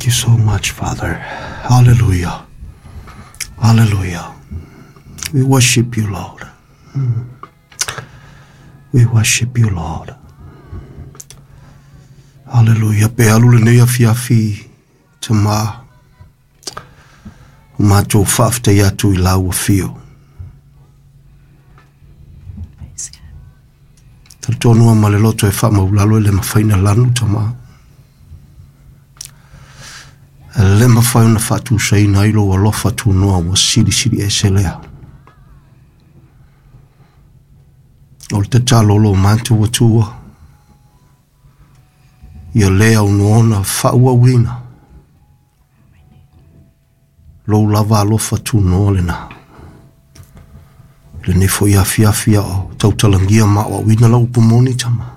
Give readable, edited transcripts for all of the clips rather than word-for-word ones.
Thank you so much, Father. Hallelujah. Hallelujah. We worship you, Lord. We worship you, Lord. Hallelujah. Pe alu lenei afiafi tamā. O matou faafetai atu i lau afio. Praise God. Talitonu ma le loto e faamaulalo e le mafai ona lanu tamā. E le mafai ona faatusaina ai lou alofa tunoa ua silisili ese lea. O le tatalo o lo matou Atua, ia le aunoa faaauauina lou lava alofa tunoa lena. Lenei foi afiafi a o tautalagia ma aoaoina lau upu moni tama.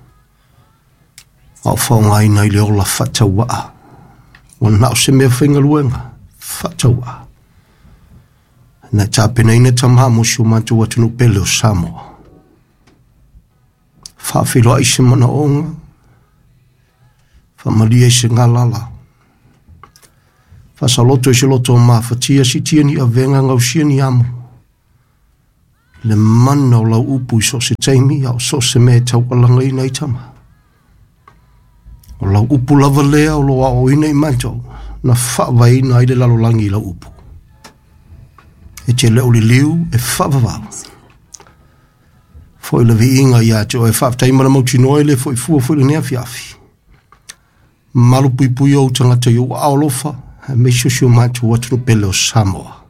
A o faaaogaina i le ola faatauaa. Ua na o se mea faigaluega faatauaa. Na tapenaina tamā mo si o matou atunuu pele o Samoa. Faafeiloai se manaoga, faamalie i se galala, faasaloto i se loto o mafatia, siitia ni avega, gausia ni amo. Le mana o lau upu i so o se taimi, a o so o se mea e taualagaina ai tama. O lau upu lava lea o lo aoaoina i matou, na faavaeina ai le lalolagi i lau upu. E te le o liliu e faavavau. Foi le viiga ia te oe faafetai ma le mautinoa e le foi fua foi lenei afiafi. Malu puipui ou tagata i ou aao alofa, aemaise o si o matou atunuu pele o Samoa.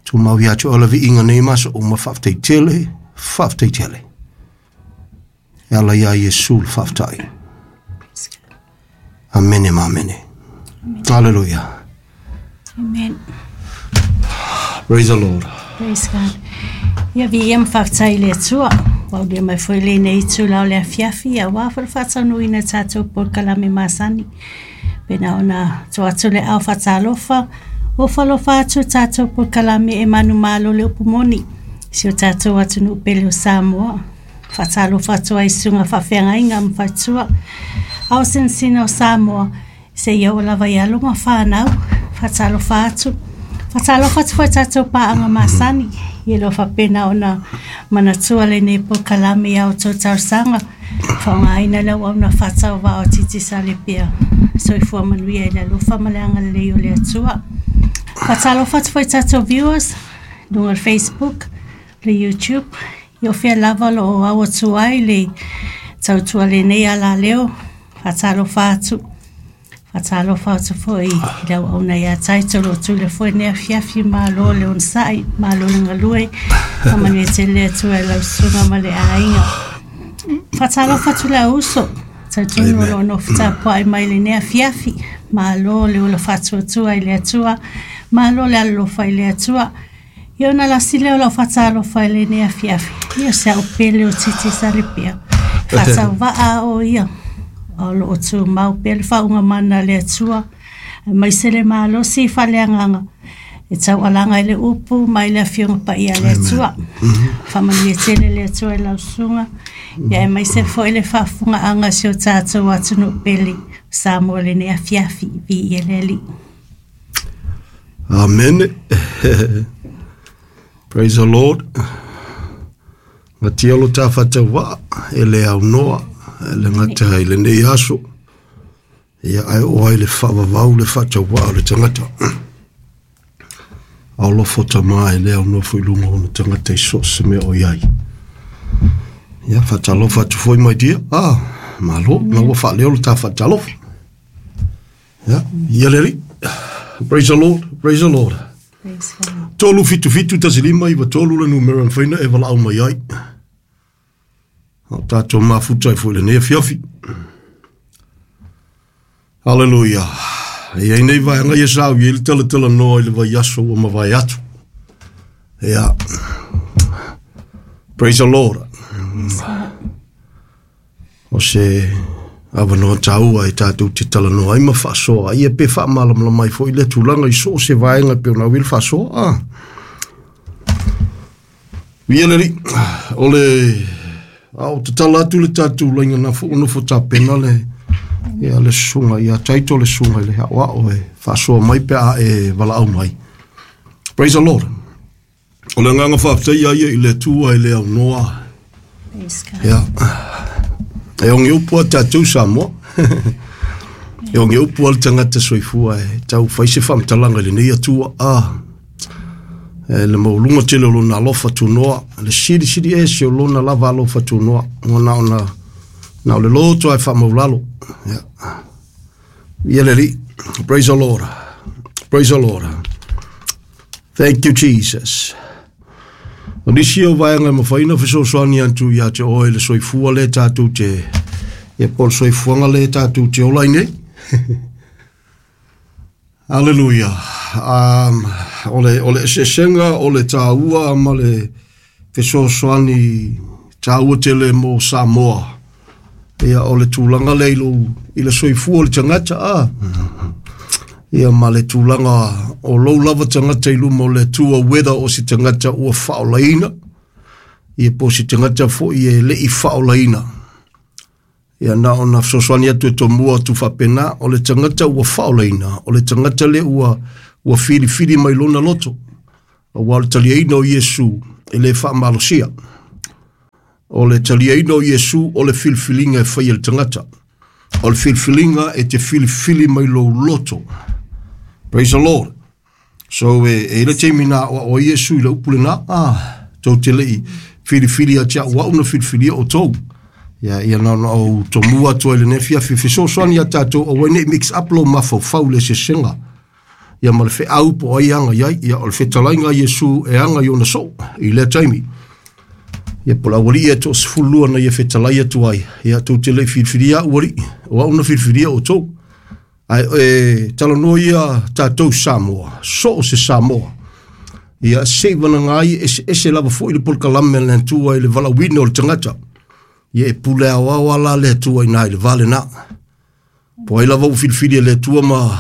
Tumau ia te oe le viiga nei ma aso uma, faafetai tele, faafetai tele. E ala ia Iesu le faafetai. Amene ma amene. Hallelujah. Amen. Praise the Lord. Praise God. Ia viia ma faafetai i le Atua. Ua aulia mai foi lenei itula o le afiafi aua foi le faataunuuina o tatou polokalame masani. Pena ona tuu atu le ao faatalofa, ua falofa atu tatou polokalame e manumalo le upu moni. Si o tatou atunuu pele o Samoa. Faatalofa atu ai i susuga faafeagaiga ma faletua. Ao sinasina o Samoa, seia oo lava i alo ma fanau. Faatalofa atu. Faatalofa atu foi i tatou paaga masani. Ia lo faapena ona manatua lenei polokalame i a outou talosaga. Faaaogaina le auauna faatauvaa o Digicel Apia. Soifua manuia i le alofa ma le agalelei o le Atua. Faatalofa atu foi i tatou viewers, luga o le Facebook, le YouTube, ia o fea lava o lo o au atu ai le tautua lenei alaleo. Faatalofa atu. Faatalofa atu foi i le auauna ia Taito lo tule foi nei afiafi, malo le onosai, malo le galue, faamanuia tele le Atua i lau susuga ma le aiga. Faatalofa atu le au uso, talitonu o lo o nofo tapuai mai lenei afiafi, malo le ola faatuatua i le Atua, malo le alolofa i le Atua. Ia ona lasi lea o lau faatalofa i lenei afiafi. Ia se au pele o Digicel Apia. Faatauvaa o ia. O lo o tumau pea le faauuga mana a le Atua, aemaise le malosi faaleagaga e taualaga i le upu mai le Afioga Paia a le Atua. Faamanuia tele le Atua i lau susuga, ia aemaise foi le faafofogaaga a si o tatou atunuu pele o Samoa i lenei afiafi. Viia le Alii. Amene. Praise the Lord. Gatia lo ta faatauvaa e le aunoa e le gata i lenei aso. Ia ae oo ai le faavavau le faatauvaa o le tagata. Aolofo tamā e le aunoa foi i luga o ona tagata i so o se mea o i ai. Ia faatalofa atu foi my dear. Ah, malo, na ua faaleo le ta faatalofa. Ia, ia le Alii. Praise the Lord, praise the Lord. Praise God. 3 7 7 1 5 9 3 le numera na faina e valaau mai ai. O tatou mafuta ai foi lenei afiafi. Hallelujah. E iai nei vaega ia sa au i ai le talatalanoa i le vaiaso ua mavae atu. Ia. Praise the Lord. O se avanoa taua e tatou te talanoa ai ma faasoa ai, ia pe faamalamalama ai foi lea tulaga i so o se vaega e pei ona au i le faasoa. Ah. Ia le Alii, o le a o tatala atu le tatou laina na fo nofo tapena le Ia le susuga ia Taito le susuga i le aoao e faasoa mai pe a e valaau mai. Praise the Lord. O le agaga faafetai ia i le Atua i le aunoa. Praise God. Ia. E oge upu a tatou Samoa. E oge upu a le tagata soifua e tau fai se faamatalaga i lenei Atua. E le maualuga tele o lona alofa tunoa, le silisili ese o lona lava alofa tunoa, ua na ona na o le loto ae faamaulalo. Ia. Ia le Alii. Praise the Lord. Praise the Lord. Thank you, Jesus. O nisi o vaega e mafai ona fesoasoani atu ia te oe le soifua le tatou te, ia po o le soifuaga le tatou te ola ai nei. Hallelujah. O le eseesega o le tāua ma le fesoasoani tāua tele mo Samoa. Ia, o le tulaga lea i lou, i le soifua o le tagata, ia ma le tulaga o lou lava tagata i luma o le Atua, whether o se tagata ua faaolaina, ia po o se tagata foi e le i faaolaina. Ia na ona fesoasoani atu e tomua atu faapena, o le tagata ua faaolaina, o le tagata lea ua filifili mai lona loto. Aua o le taliaina o Iesu e le faamalosia. O le taliaina o Iesu o le filifiliga e fai e le tagata. O le filifiliga e te filifili mai lou loto. Praise the Lord. So e le taimi na o Iesu i le upu lena, tou te lei filifili a te au au na filifilia o tou. Ia, ia na ona ou tomua atu ai lenei afiafi fesoasoani ia tatou aua ne i mix up lou mafaufau le eseesega. Ia ma le feau po o ai e aga i ai, ia o le fetalaiga a Iesu e aga i ona soo i lea taimi. Ia po o le aualii e toasefululua na ia fetalai atu ai, ia tou te le i filifilia au alii, o au na filifilia outou. Ae e talanoa ia tatou Samoa, so o se Samoa. Ia se i vanaga ai eseese lava foi le polokalame a le Atua i le valaauina o le tagata. Ia e pule aoao ala le Atua i na i le va lena. Po ai lava ua filifili e le Atua ma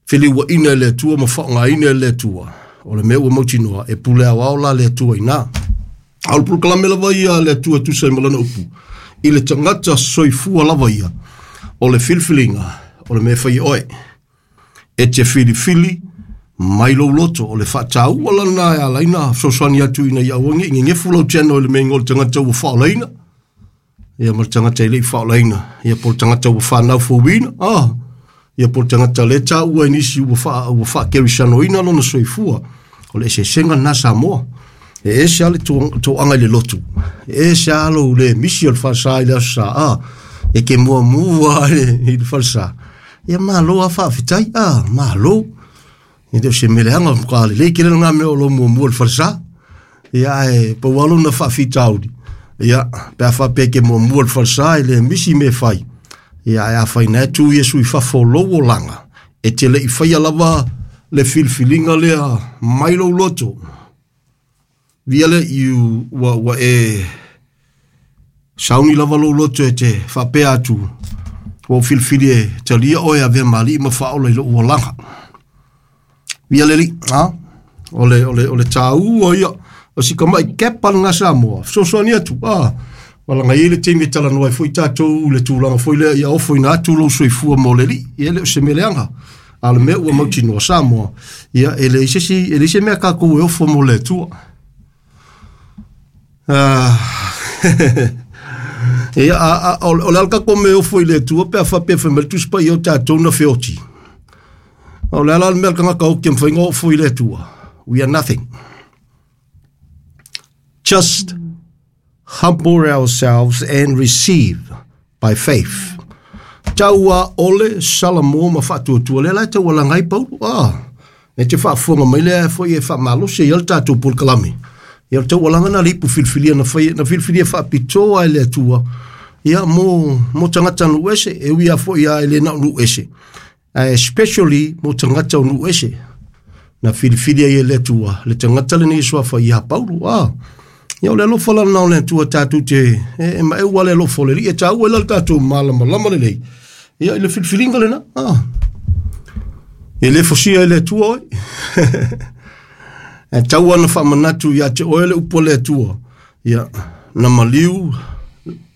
feliuaina e le Atua ma faaaogaina e le Atua. O le mea ua mautinoa, e pule aoao la le Atua i na. A o le polokalame lava ia a le Atua e tusa ai ma lana upu, i le tagata soifua lava ia, o le filifiliga, o le mea e fai e oe. E te filifili mai lou loto, o le faataua lana e ala ai ona fesoasoani atu ina ia aua ne i gegefu lau channel i le mea o le tagata ua faaolaina, ia ma le tagata e le i faaolaina, ia po o le tagata ua whanau fouina, ia po o le tagata le tāua i nisi ua faakerisanoina lona soifua. O le eseesega lena Samoa. E ese lava le toaga i le lotu, e ese lava lou le misi o le falesa i le aso Sa, e ke muamua i le falesa. Ia malo lava faafetai, malo. E le o se mea leaga, matua lelei tele lena mea o lou muamua i le falesa. Ia ae pau lava lona faafitauli, ia pe a faapea e te muamua i le falesa e le misi mea e fai. Ia ae a fai na e tu Iesu i fafo o lou olaga, e te le i faia lava le filifiliga lea mai lou loto. Via le iu ua e sauni lava lou loto e te faapea atu, ua ou filifili e talia oe avea ma alii ma faaola i lou olaga. Via le alii, o le tāua ia, o si kamai kepa lena Samoa, fesoasoani atu, wala ngai le taimi e talanoa ai foi tatou le tulaga foi lea ia ofoina atu lou soifua mo le alii, ia e le o se mea leaga. A o le mea ua mautinoa Samoa, ia e leai se isi, e leai se mea tatou e ofo mo le Atua. Ia, o le a le tatou mea e ofo i le Atua pe a faapea fai mai le Tusi Paia o tatou na feoti. O le a la le mea a le tagata oti e mafai ona ofo i le Atua? We are nothing. Just humble ourselves and receive by faith. Taua ole Salamo ma faatuatua lea la e taualaga ai Paulo. E te faafofoga mai lea foi e faamalosi ai le tatou polokalame. Ia o le taualaga na le ipu filifilia na fai, na filifilia faapitoa e le Atua. Ia mo tagata nuu ese, e ui lava foi a e le na o nuu ese. Ae especially mo tagata o nuu ese. Na filifilia ai e le Atua le tagata lenei e suafa ia Paulo. Ia o le alofa la lena o le Atua tatou te e maeu lava le alofa o le Alii e taua ai la le tatou malamalama lelei. Ia i le filifiliga lena. E le fosia e le Atua oe. E tau ona faamanatu ia te oe le upu a le Atua. Ia, na maliu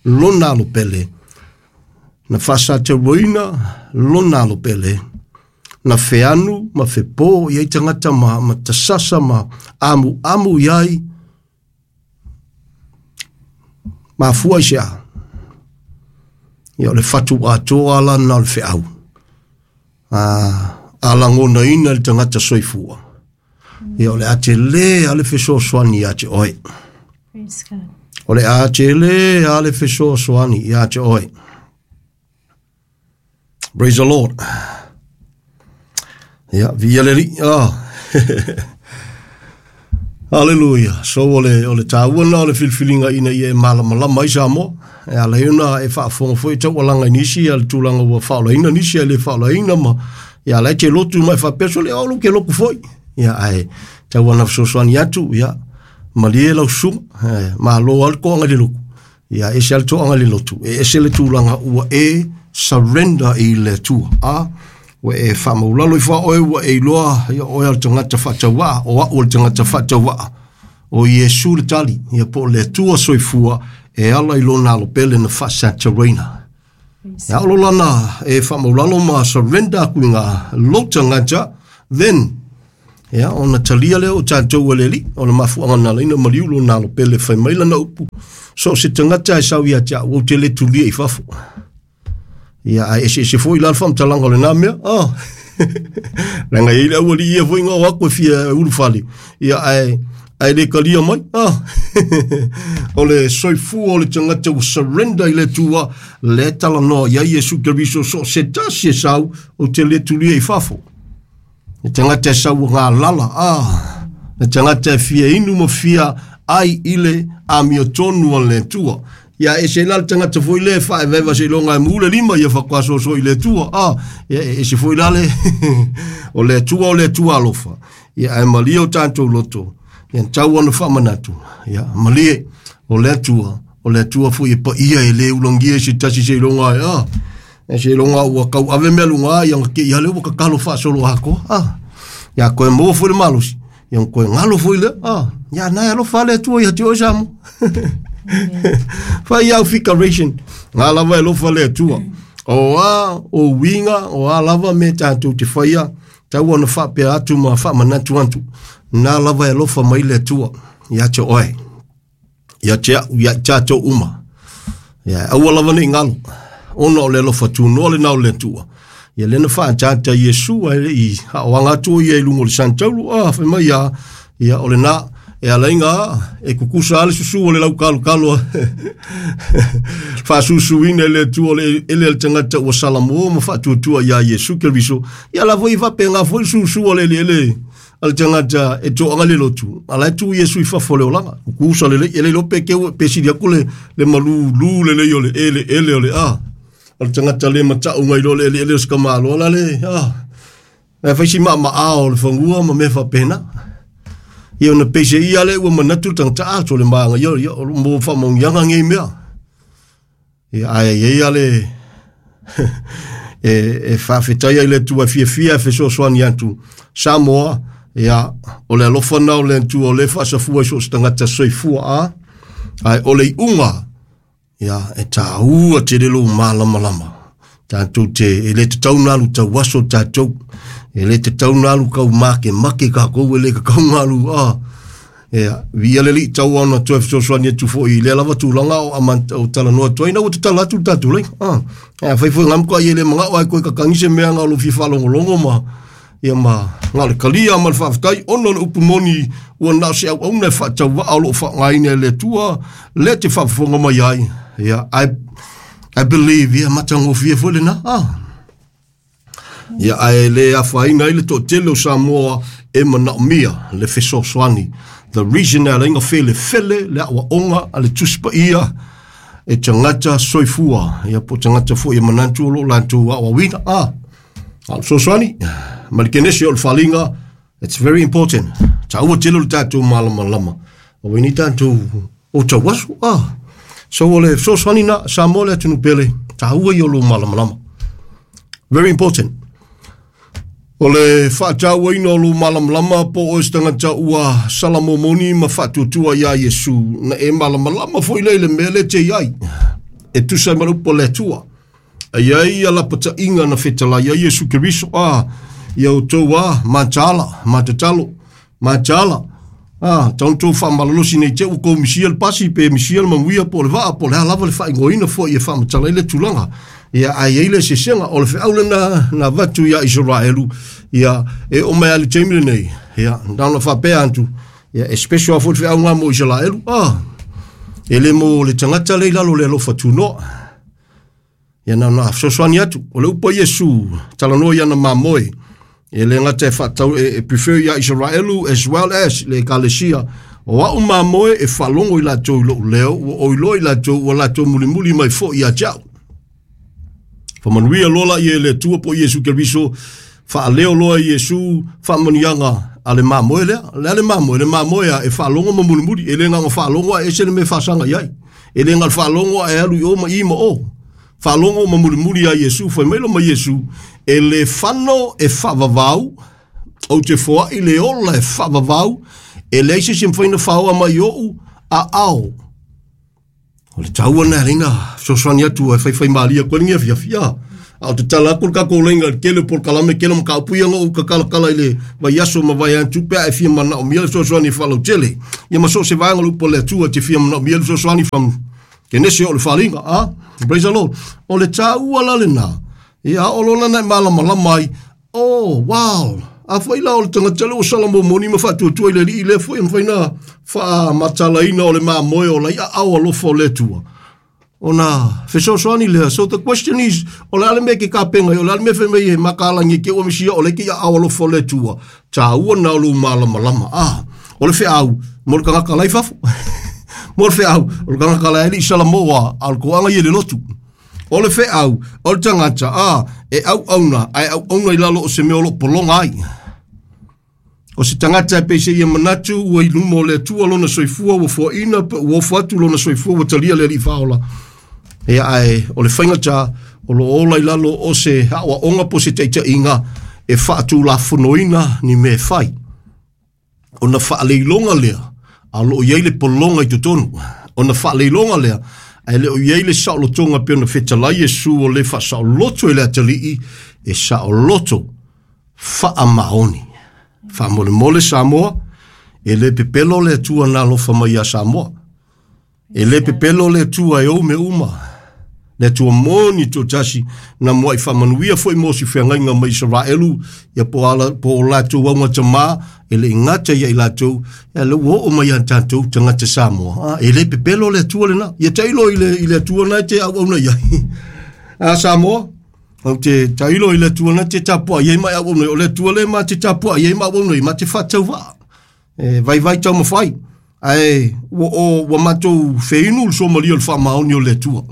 lona alo pele. Na faasatauaina lona alo pele, na feanu ma fepo i ai tagata ma tasasa ma amuamu i ai, mafua i se a. Ia o le fatu atoa la na o le feau. A lagonaina le tagata soifua. Ia o le a tele a le fesoasoani ia te oe. Praise God. O le a tele a le fesoasoani ia te oe. Praise the Lord. Ia, via le alii. Ah. Hallelujah. So o le tāua na o le filifiliga ina ia e malamalama ai Samoa. E ala ai ona e faafofoga foi e taualaga i nisi a le tulaga ua faaolaina nisi ae le faaolaina ma ia ala e te lotu mai faapea so le o ke loku foi. Ia ae tau ana fesoasoani atu ia malie lau susuga malo lava le toaga i le lotu. Ia ese lava le toaga i le lotu. E ese le tulaga ua e surrender i le Atua. A ua e faamaulalo ifo a oe ua e iloa ia oe o le tagata faatauvaa o au o le tagata faatauvaa. O Iesu le tali, ia po o le Atua soifua e ala i lona alo pele na faasatauaina. Ia o lo lana e faamaulalo ma surrender aku i ngā lou tagata, then ia ona talia lea o tatou e le Alii, o le mafuaaga na ala ai ona maliu lona alo pele fai mai lana upu, so o se tagata e sau ia te au, ou te le tulia i fafo. Ia, ae eseese foi la le faamatalaga o lena mea. Oh. Leaga e i ai le aualii ia foi na o atu e fia ulufale. Ia, ae le talia mai. Ah. O le soifua o le tagata ua surrender i le Atua, lea e talanoa i ai Iesu Keriso, so o se tasi e sau, ou te le tulia i fafo. Le tagata e sau ua galala, ah. Le tagata e fia inu ma fia ai i le amiotonu a le Atua. Ia ese ai la le tagata foi lea e faaevaeva seiloga e mu le lima ia faatoa soso i le Atua. Ah, ia e ese foi la le o le Atua o le Atua alofa. Ia ae malie o tatou loto. Ia tau ona faamanatu. Ia malie o le Atua, o le Atua foi e paia e le ulagia i se tasi seiloga e ah. E seiloga ua tauave mea luga ia na te i ale ua tatalo faasolo atoa. Ah. Ia toe maua foi le malosi. Ia toe galo foi lea. Ah. Ia na e alofa le Atua ia te oe Samoa. Fai au figuration. Ngā lava e alofa le Atua. O a o uiga, o a lava me tātou te whaia, tau ona whaapea atu ma whaamanatu atu. Nā lava e alofa mai le Atua ia te oe. Ia te au, ia tātou uma. Ia, aua lava nei ngalo. Ona o le alofa tunoa le nao le Atua. Ia lena whaatata Iesu ai le i haoanga atu ia i lunga o le santaulu. Ah, whai mai ia, ia o le nā, e ala ai ngā, e kukusa ale susu o le lau kalu kalu a. Whaasusuina e le Atua o le ele ale tagata ua salamoa ma whaatuatua ia Iesu Keriso. Ia la foi faapea ngā foi susu o le ele ele ale tagata e toaga le lotu. Ala e tu Iesu i fafo le olaga. Kukusa le lei, ele iloa pe keu, pe sili aku le malu lu le lei o le ele ele o le a. O le tagata le matau ngai loa le ele ele o se kamalo ala le a. E fai si maamaa o le fagua ma mea faapena. Ia ona peise ia le ua manatu le tagata a tole maanga ia ia o mo faamauniaga nei mea. Ia ae i ai ia le e faafetai ai le Atua e fiafia e fesoasoani atu Samoa ia o le alofa na o le Atua o le faasafua i so o se tagata soifua a ae o le iuga ia e tāua tele lou malamalama. Tātou te, e le tatau na alu tauaso tātou, e le tatau na alu kau makemake kākou, e le kakau na alu, ah, ia, via le alii tau ona toe fesoasoani atu foi i lea lava tulaga o ama, o talanoa atu ai, na ua tatala atu le tatou laina, ah. Ae afai foi ngam koa ia le manao ae koe kakangi se mea nga o lou fia faalogologo ma, ia ma, na o le talia ma le faafetai, ona o le upu moni ua na o se auauna e faatauvaa o loo faaaogaina e le Atua, lea te faafofoga mai ai, ia, I believe, ia, matagofie foi lena, ah. Ia, ae le afaina ai le toatele o Samoa e manaomia le fesoasoani. The reason e ala ai ona felefele le aoaoga a le Tusi Paia e tagata soifua, ia po o tagata foi e manatu o lo o latou aoaoina, ah. A o le fesoasoani ma le kenese o le faliga, it's very important. Taua tele o le tatou malamalama. Aua nei tatou o tauaso, ah. So o le fesoasoani na Samoa le atunuu pele, taua ia o lou malamalama. Very important. O le faatauaina o lou malamalama po o oe se tagata ua salamomoni ma faatuatua iā Iesu, na e malamalama foi lea i le mea lea e te i ai, e tusa ai ma le upu a le Atua. Ai ai ia lapataiga na fetalai ai Iesu Keriso a ia outou a mataala matatalo mataala a tauntou faamalolosi nei te ua kou misia le pasi pe misia le manuia po o le vaa po o le a lava le faaigoaina foi e faamatala ai le tulaga. Ia ae i ai le eseesega o le feau lena na avatu ia Isaraelu ia e oo mai lava i le taimi lenei ia na ona faapea atu ia e special lava foi le feau lena mo Isaraelu a e le mo le tagata lea i lalo o le alofa tunoa. Ia na ona fesoasoani atu o le upu a Iesu talanoa i ana mamoe e le gata e faatau e prefer ia Isaraelu as well as le ekalesia o au mamoe e faalogo i latou i lou leo ua oi loa i latou ua latou mulimuli mai foi ia te au. Faamanuia loa la ia e le Atua po o Iesu Keriso, faaleo loa e Iesu faamanuiaga a le mamoe lea. O le a le mamoe? Le mamoe a e faalogo ma mulimuli, e le na ona faalogo ae ese le mea e faasaga i ai. E le na o le faalogo ae alu i o ma i ma o. Faalogo ma mulimuli ia Iesu, fai mai loa ma Iesu, e le fano e faavavau, ou te foai le ola e faavavau, e leai se isi e mafai ona faoa mai i ou aao. O le taua lena e ala ai ona fesoasoani atu e faifaimalie atu ai lenei afiafi. A o tatala atu le tatou laina i le tele o polokalame, tele o mataupu ia na ou tatalatala i le vaiaso ma vaeatu pe a e fia manaomia le fesoasoani e faalautele. Ia ma so o se vaega o le upu a le Atua e te fia manaomia le fesoasoani from Kenese o le faaaliga. A, praise the Lord. O le taua la lena, ia oo loa lana e malamalama ai, oh, wow, a foi la o le tagata lea ua sala momoni ma faatuatua i le alii lea foi e mafai ona faamatalaina o le mamoe o lai aao alofa o le Atua. Ona fesoasoani lea. So the question is, o le a le mea e te tapena ai, o le a le mea fai mai e mataalagia e te ua misia o lea e te aao alofa o le Atua. Taua na o lou malamalama. Ah, o le feau mo le tagata la i fafo. Mo le feau, o le tagata la e le i Salamoa, a o le toaga ia i le lotu. O le feau, o le tagata, a, e auauna, ae auauna i lalo o se mea o lo o pologa ai. O se tagata e pei se ia manatu ua i luma o le Atua lona soifua ua foaina pe ua ofo atu lona soifua ua talia le Alii Faaola. Ia ae o le faigata o lo o ola i lalo o se aoaoga po o se taitaiga e faatulafonoina ni mea e fai. Ona faaleiloga lea, a o lo o i ai le pologa i totonu. Ona faaleiloga lea, ae le o i ai le saolotoga pei ona fetalai Iesu o le faasaoloto e le atalii, e saoloto faamaoni. Faamolemole Samoa, e le pepelo le Atua na alofa mai ia Samoa. E le pepelo le Atua e ou mea uma. Le Atua moni toatasi, na muai faamanuia foi mo si feagaiga mai Isaraelu, ia po ala, po o latou augatama, e le i gata ia i latou, ia le ua oo mai ia tatou tagata Samoa. Ah, e le pepelo le Atua lena. Ia tailo i le, i le Atua na e te auauna i ai. A Samoa, ou te tailo i le Atua na te tapuai ai ma e auauna ai. O le Atua le ma te tapuai ai ma auauna ai, ma te faatauvaa. E vaivai taumafai, ae ua, o, ua matou feinu le suamalie o le faamaoni o le Atua.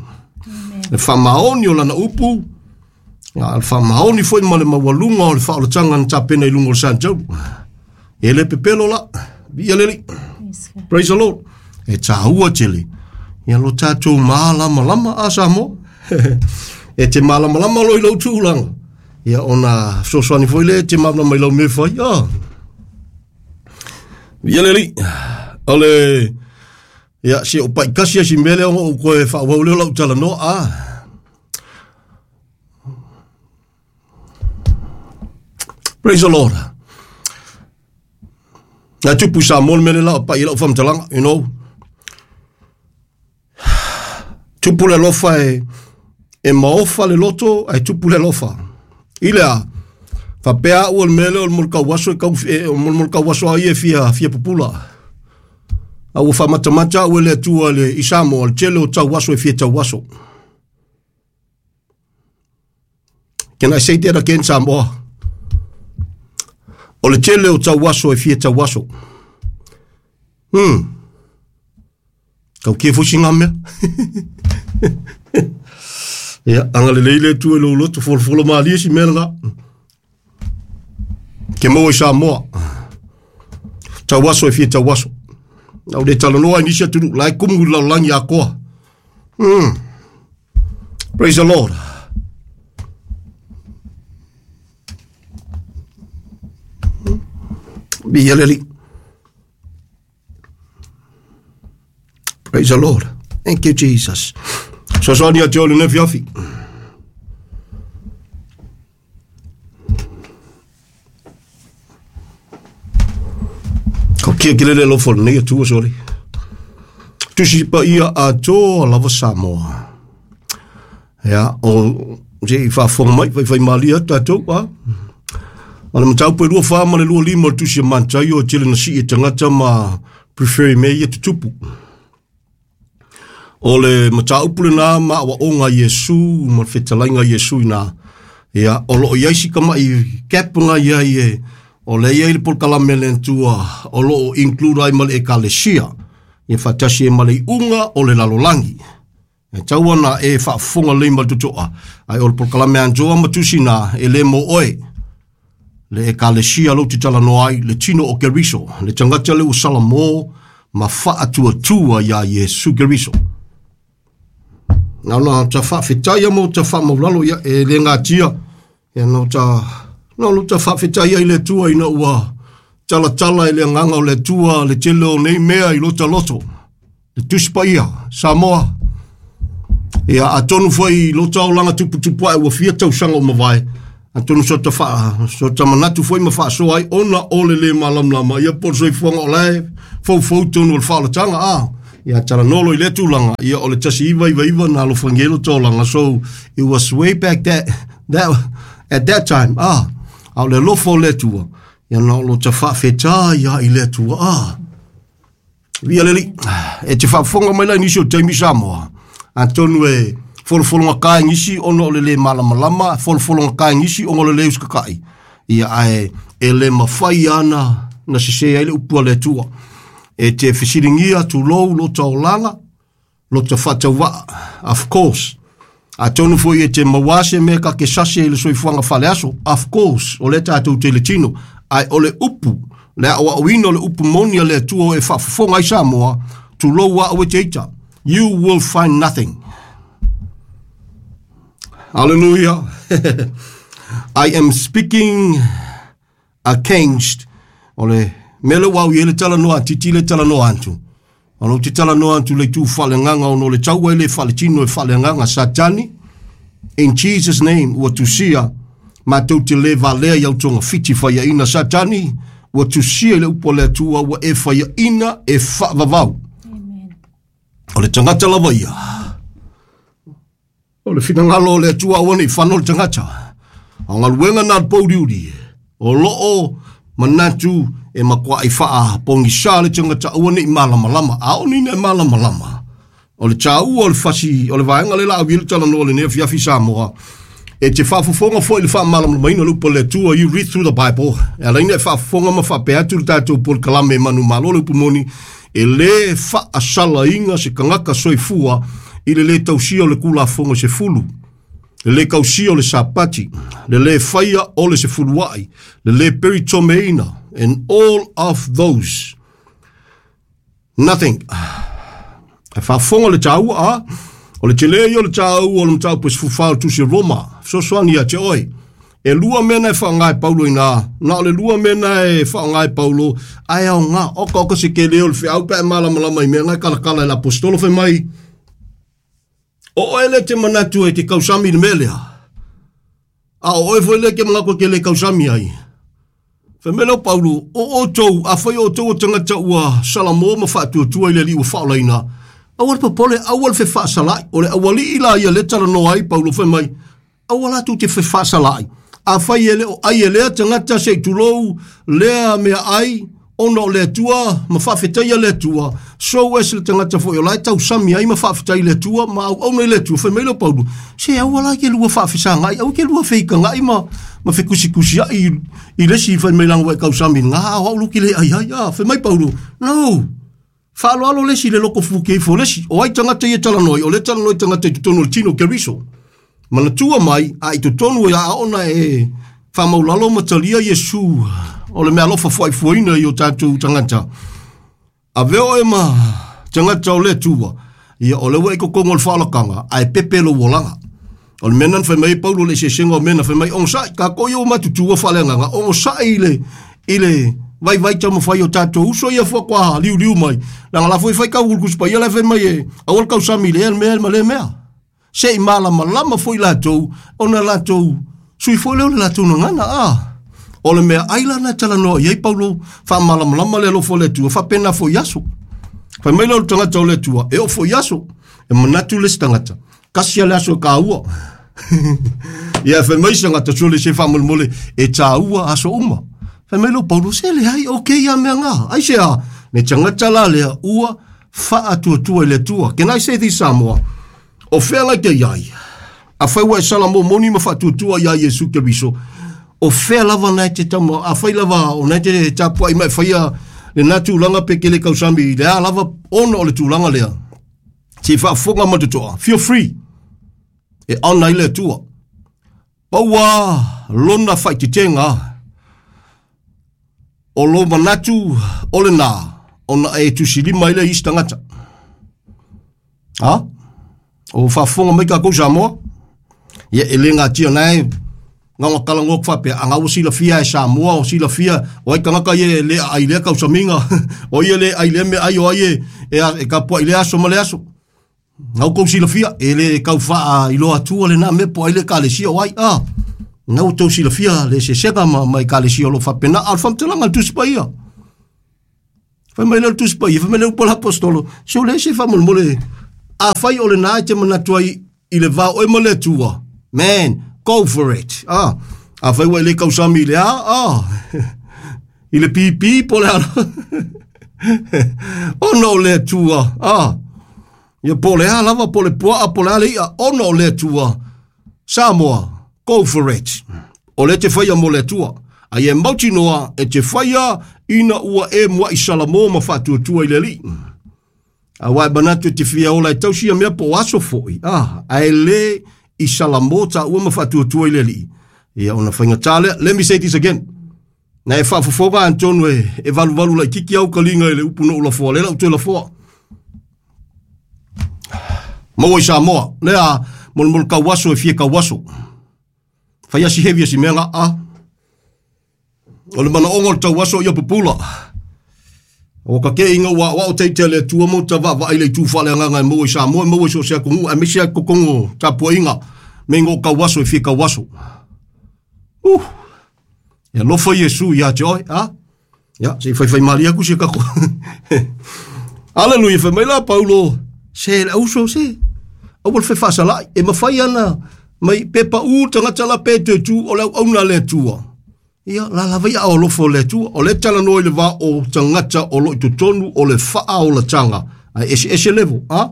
Le faamaoni o lana upu, a le faamaoni foi ma le maualuga o le faaolataga na tapena i luga o le Santaulu. E le pepelo la, viia le Alii. Praise the Lord. E tāua tele, ia lo tātou mālamalama a Samoa. E te mālamalama lo i lou tulaga. Ia ona fesoasoani foi lea e te malamalama i lau mea e fai. Ah. Ia le alii, o le, ia, se o pai kasi si mea lea ona ou toe faaauau lea o lau talanoa, ah. Praise the Lord. Na tupu i Samoa le mea lea la o pai i lau faamatalaga, you know. Tupu le alofa e, e maofa le loto, ae tupu le alofa. I le a, faapea au o le mea lea o le molikauaso e kau, e, o le molikauaso a ia e fia, fia pupula. A ua faamatamata au e le Atua le, i Samoa, le tele o tauaso e fia tauaso. Can I say that again, Samoa? O le tele o tauaso e fia tauaso. Kau kia foi ngā mea. Ia, anga lelei le Atua i lou loto, folafola malie si mea lena. Ke maua i Samoa. Tauaso e fia tauaso. Au le talanoa i nisi atunuu, la e kumu i le lalolagi atoa. Praise the Lord. Viia le Alii. Praise the Lord. Thank you, Jesus. Soasoani ia te o lenei afiafi. Kia kile le alofa o lenei Atua sole. Tusi Paia atoa lava Samoa. Ia, o se i faafofoga mai, faifaimalie atu tatou, a. O le mataupu e 24 ma le 25 o le tusi a Mataio e tele na sii e tagata ma preferi mea ia tutupu. O le mataupu lena ma aoaoga a Iesu ma le fetalaiga a Iesu ina. Ia, o lo o i ai si tamai gap na i ai e, o lea e i ai le polokalame a le Atua o lo o include ai ma le Ekalesia, ia faatasi ai ma le iuga o le lalolagi. E tau ana e faafofoga lelei ma le totoa, ae o le polokalame Anjoa ma tusi na, e le mo oe. Le Ekalesia lou te talanoa ai, le tino o Keriso, le tagata lea ua salamo ma faatuatua iā Iesu Keriso. Na ona ta faafetai ma ta faamaulalo ia e le gatia ia no ta no lo ta faafetai ai le Atua ina ua talatala i le agaga o le Atua le tele o nei mea i lota loto. Le Tusi Paia, Samoa. Ia, atonu foi i lota olaga tuputupu ae ua fia tausaga o mavae, atonu so ta faa, so ta manatu foi ma faasoa ai ona o le le malamalama, ia po o le soifuaga o la e foufou tonu o le faaolataga, a. Ia, talanoa loa i lea tulaga, ia o le 1999 na alofagia ai lota olaga, so it was way back that, that, at that time, a. A o le alofa o le Atua, ia na o lota faafetai lava i le Atua, a. Via le Alii, e te faafofoga mai la i nisi o taimi Samoa, atonu e folofologata e nisi ona o le le malamalama, folofologata e nisi ona o le le usitatai, ia ae e le mafai ana na sese ai le upu a le Atua. E te fesiligia tulou lota olaga, lota faatauvaa, of course. Atonu foi e te maua se mea ka ke sase i le soifuaga faaleaso, of course, o lea tatou te i le tino, ae o le upu, le aoaoina o le upu moni a le Atua e faafofoga ai Samoa, tulou a au e te ita, you will find nothing. Hallelujah. I am speaking against o le mea lea ua au i ai le talanoa a Titi le talanoa atu. O lou te talanoa atu le itu faaleagaga ona o le taua e le faaletino e faaleagaga Satani. In Jesus name ua tusia matou te le valea i au togafiti faiaina Satani ua tusia i le upu a le Atua ua e faiaina e faavavau. O le tagata lava ia. O le finagalo o le Atua aua ne i fano le tagata. A o galuega na a le pouliuli, o lo o manatu e matuai faapogisa le tagata aua ne i malamalama. A oo nei ina e malamalama, o le taua o le fasi, o le vaega lea o le a au i ai le talanoa i lenei afiafi Samoa, e te faafofoga foi i le faamalamalamaina o le upu a le Atua, you read through the Bible, e ala ai ona e faafofoga ma faapea atu le tatou polokalame manumalo le upu moni, e le faasalaina se tagata soifua i le le tausia o le Tulafono e 10, le le tausia o le Sapati, le le faia o le sefuluai, le le peritomeina, and all of those. Nothing. E faafofoga le taua, a? O le tele ia o le taua o le mataupu e 14 o le Tusi a Roma, fesoasoani ia te oe. E lua mea na e faaaoga e Paulo inā, na o le lua mea na e faaaoga e Paulo, ae aoga, oka oka se kele o le feau pe a e malamalama i mea na e kalakala e le Aposetolo fai mai, O oe lea e te manatu e te kausami i le mea lea, a o oe foi lea e te manatu e te le kausami ai. Fai mai lea o Paulo, o outou, afai o outou o tagata ua salamo ma faatuatua i le Alii ua faaolaina, aua le popole, aua le fefaasala'i. O le aualii la ia lea e talanoa ai Paulo fai mai, aua la tou te fefaasala'i. Afai e le o ai e lea tagata se i tulou lea meaai, ona o le Atua ma faafetaia le Atua, so as le tagata foi o la e tausami ai ma faafetai i le Atua ma auauna i le Atua. Fai mai lea o Paulo, se aua la ke lua faafesagai, aua ke lua feikagai ma, ma fekusikusiai i, i le isi fai mai langa ua e tausami ngā, o au luki le ai ai, ah, fai mai Paulo, no, faaaloalo le isi i le loko fuke ifo o le isi. O ai tagata ia e talanoa ai? O lea e talanoa i tagata i totonu o le tino o Keriso. Manatua mai, a i totonu e a ona e faamaulalo ma talia Iesu o le meaalofa fuaifuaina i o tatou tagata. Avea oe ma tagata o le Atua, ia o lea ua e i totonu o le faaolataga, ae pepe lou olaga. O le mea lena na fai mai ai Paulo i le eseesega o mea na fai mai, onosai, tatou ia ua matutua faaleagaga, onosai i le, i le vaivai taumafai o tatou uso ia faatoa liuliu mai, leaga la foi e fai tau Tusi Paia la e fai mai e aua le tausami i lea mea ma lea mea. Se i malamalama foi latou ona latou sui foi lea o le latou gagana. A O le mea ai lana talanoa i ai Paulo faamalamalama le alofa o le Atua faapena foi aso. Fai mai le tagata o le Atua e oo foi aso. E manatu le isi tagata kasi a le aso e kāua. Ia fai mai se tagata sole se faamolemole e tāua aso uma. Fai mai lo Paulo se le ai o ke ia mea ngā. Ai se a le tagata la lea ua faatuatua i le Atua. Can I say this Samoa? O fea lai te iai. A fai ua e sala mo moni ma faatuatua ia Iesu Keriso. O fea lava nai te tama, a fai lava o nai te tapua i mai whaia le nā tūlanga pe ke le kausami le a lava ona o le tūlanga lea. Se whaafonga ma te toa. Feel free. E ana i le Atua. Paua lona whaititenga o lo manatu o le nā ona e tusilima i le isi tagata. Ha? O whaafonga mai ka kou Samoa. Ia e le ngā tia nei ngā kalango whapea, a ngā sila fia e Samoa, o sila fia, o ai kangaka ie le ai lea kausamiga, o ia le ai le me ai o ai e kapua i le aso ma le aso. Ngau kou sila fia, e le kau whaa i loa atua le nā me po ai le kalesia o ai, a. Ngau tau sila fia le sesega ma mai kalesia o lo whapena, al whamtelanga le tusi pa ia. Whai mai le tusi pa ia, whai mai le upola apostolo, se o le se whamolmole, a whai o le nā te manatua i le vā oe ma le atua. Man, go for it. Ah, a whai wa le kausami le a, i le pipi po le ala. Ono le atua, ah. Ia po le a lava, po le pua, po le a le ia, ono le atua. Samoa, go for it. O le te whaia mo le atua. A ia mautinoa e te whaia ina ua e mua i Salamo ma whaatuatua i le li. A wai manatu e te whia ola e tausia mea po aso foi. Ah, a e le i Salamo ta ua ma whaatuatua i le li. Ia ona whainga tālea. Let me say this again. Na e whaafofoga Antonu e valu valu lai kiki au kalinga i le upu no ulafoa. Le lau toe lafoa. Maua i Samoa. Lea molmol kauaso e fie kauaso. Whai asi hevi asi mea ngā a. O le mana ongo le tauaso ia pupula. O ka ke inga ua wa o teite le tua mo ta va va ile tu fale nganga mo i Samoa mo i so se kongu a misia kokongo tapua inga me ngo kauaso e fie kauaso. Ia lofa Iesu ia te oi, a? Ia, se fai fai maria ku se kako. Hallelujah, fai mai la Paulo. Se le auso se. Au le whasala e mawhai ana mai pepa u tangata la pe te tu o le auna le tua. Ia, la la vai au lofo le tua, o le tala noi le va o tangata o lo i totonu o le whaa o la tanga. Ai ese ese levo, a?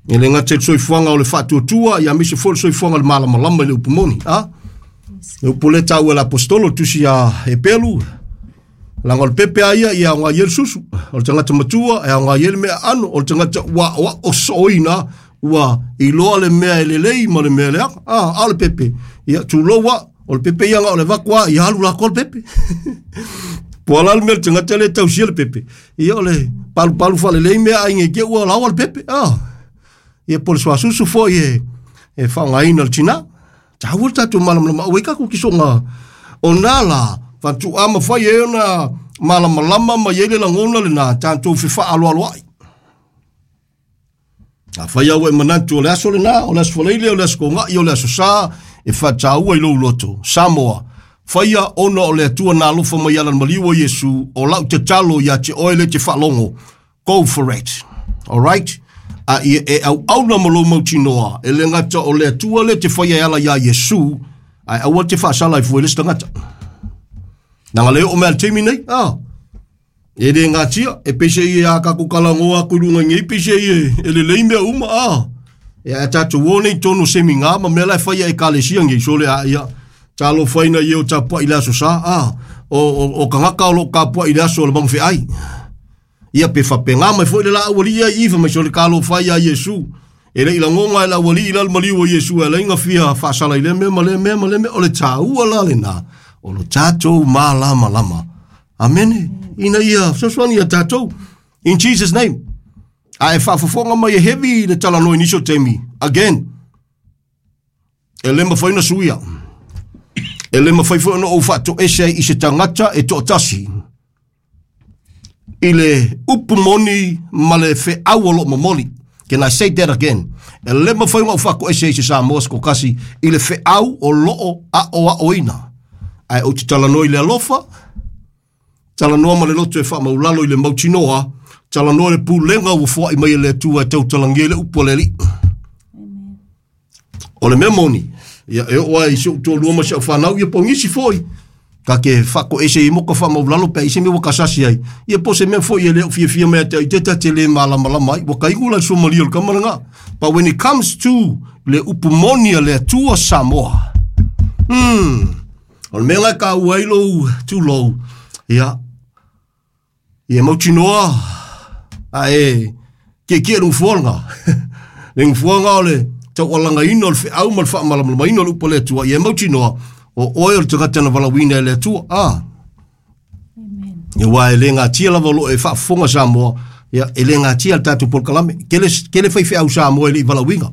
E le ngate soifuaga o le faatuatua, ia mise foi le soifuaga o le malamalama i le upumoni, a? Le upu le tau e le apostolo tusi a Epelu, laga o le pepe a ia, ia aoga i ai le susu, o le tagata matua, e aoga i ai le mea ano, o le tagata ua o sooina, ua iloa le mea e lelei ma le mea leaga, a, a o le pepe, ia tuloua, o le pepe ia nga o le vakua, ia alu lako le pepe. Po ala le mea le tagata le tausia le pepe. Ia o le palu palu faalelei mea aiga i ke ua laoa le pepe, a. Ia po le suasusu foi e faaaogaina le tinā. Taua le tatou malamalama auai kakou kisoga o nā la faatuʻa ma fai e ona malamalama ma iai le lagona lenā tatou fefaaloaloaʻi. A fai au e manatu o le aso lenā, o le aso faleile, o le aso kogaʻi, o le aso sā, e faataua i lou loto. Samoa, faia ona o le Atua na alofa mai ala le maliu o Iesu, o lau tatalo ia te oe le te faalogo. Go for it. All right? A ia e auauna ma lou mautinoa, e le gata o le Atua le te faia e ala iā Iesu, ae aua te faasala i fua i le isi tagata. Naga le oo mea le taimi nei, ah. E le ngatia, e pese i a kako kalangoa aku i lunga i nei, pese i e lelei mea uma, ah. E a tātou o nei tonu semi ngā, ma mea la e whaia e kalesia ngei, so le a ia, talo whaina i o tapua i le aso sa, ah. O kangaka o lo kapua i le aso o le mangu ai. Ia pe whape ngā mai foi le la awali ia i iwa mai so le kalo whaia Iesu. E le ila ngonga e la awali i lal maliu o Iesu e la inga fia whaasala i le mea ma le mea ma le mea o le tāua la le nā. O lo tātou mā lama lama. Amene. Ina ia, fesoasoani ia tātou. In Jesus name. A e faafofoga mai e heavy le talanoa i nisi o taimi. Again. E le mafai ona suia. E le mafai foi ona ou faatoese ai i se tagata e toatasi. I le upu moni ma le feau o loo momoli. Can I say that again? E le mafai ona ou faatoese ai i se Samoa se kokasi i le feau o loo aoaoina. Ae ou te talanoa i le alofa, talanoa ma le loto e faamaulalo i le mautinoa, talanoa i le pulega ua foai mai e le Atua e tautalagia ai le upu a le Alii. O le mea moni, ia e oo lava i si ou toalua ma si au fanau, ia po o nisi foi, ta te faatoese i moka faamaulalo pe a i se mea ua kasasi ai, ia po o se mea foi e le o fiafia mai ia te au, te ta te le malamalama ai, ua taigu la le suamalie o le tama lena. But when it comes to le upu moni a le Atua Samoa, o le mea la e taua ai lou tulou, ia, ia mautinoa, a e tietie le nofoa lena. Le nofoa lena o le taualagaina o le feau ma le faamalamalamaina o le upu a le Atua, ia e mautinoa, o oe o le tagata na valaauina e le Atua. Ah. Ia aua e le gatia lava o lo o e faafofoga Samoa, ia e le gatia le tatou polokalame. Tele, tele faifeau Samoa e le i valaauina.